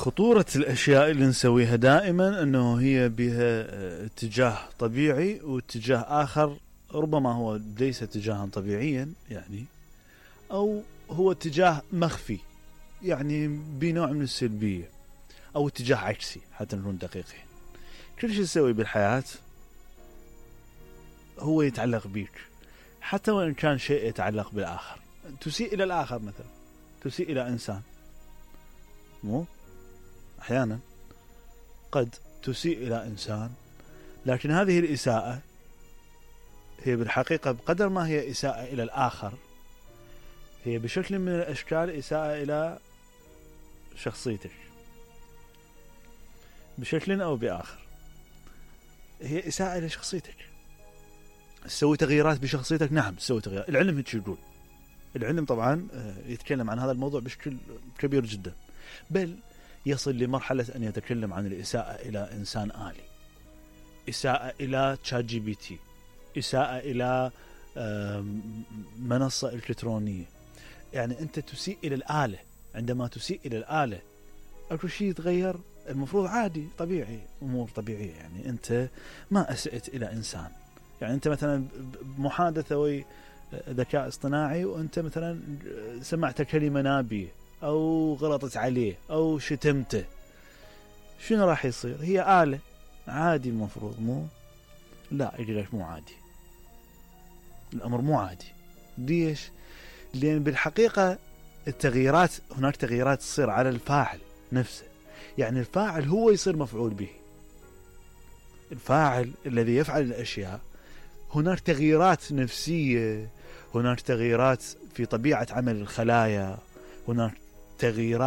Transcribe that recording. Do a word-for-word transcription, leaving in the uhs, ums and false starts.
خطورة الأشياء اللي نسويها دائما أنه هي بها اتجاه طبيعي واتجاه آخر ربما هو ليس اتجاها طبيعيا يعني، أو هو اتجاه مخفي يعني بنوع من السلبية، أو اتجاه عكسي حتى نكون دقيقين. كل شيء تسوي بالحياة هو يتعلق بيك، حتى وإن كان شيء يتعلق بالآخر. تسيء إلى الآخر مثلا، تسيء إلى إنسان، مو أحيانا قد تسيء إلى إنسان، لكن هذه الإساءة هي بالحقيقة بقدر ما هي إساءة إلى الآخر، هي بشكل من الأشكال إساءة إلى شخصيتك بشكل أو بآخر. هي إساءة إلى شخصيتك. تسوي تغييرات بشخصيتك، نعم تسوي تغييرات. العلم هيك يقول، العلم طبعا يتكلم عن هذا الموضوع بشكل كبير جدا، بل يصل لمرحلة أن يتكلم عن الإساءة إلى إنسان آلي، إساءة إلى تشات جي بي تي، إساءة إلى منصة إلكترونية. يعني أنت تسيء إلى الآلة. عندما تسيء إلى الآلة أكو شيء يتغير، المفروض عادي طبيعي، أمور طبيعية. يعني أنت ما أسأت إلى إنسان، يعني أنت مثلا محادثة وي ذكاء اصطناعي وأنت مثلا سمعت كلمة نابية أو غلطت عليه أو شتمته، شنو راح يصير؟ هي آلة عادي المفروض، مو لا يقول لك مو عادي، الأمر مو عادي. ليش؟ لأن بالحقيقة التغييرات، هناك تغييرات تصير على الفاعل نفسه. يعني الفاعل هو يصير مفعول به، الفاعل الذي يفعل الأشياء. هناك تغييرات نفسية، هناك تغييرات في طبيعة عمل الخلايا، هناك تغييرات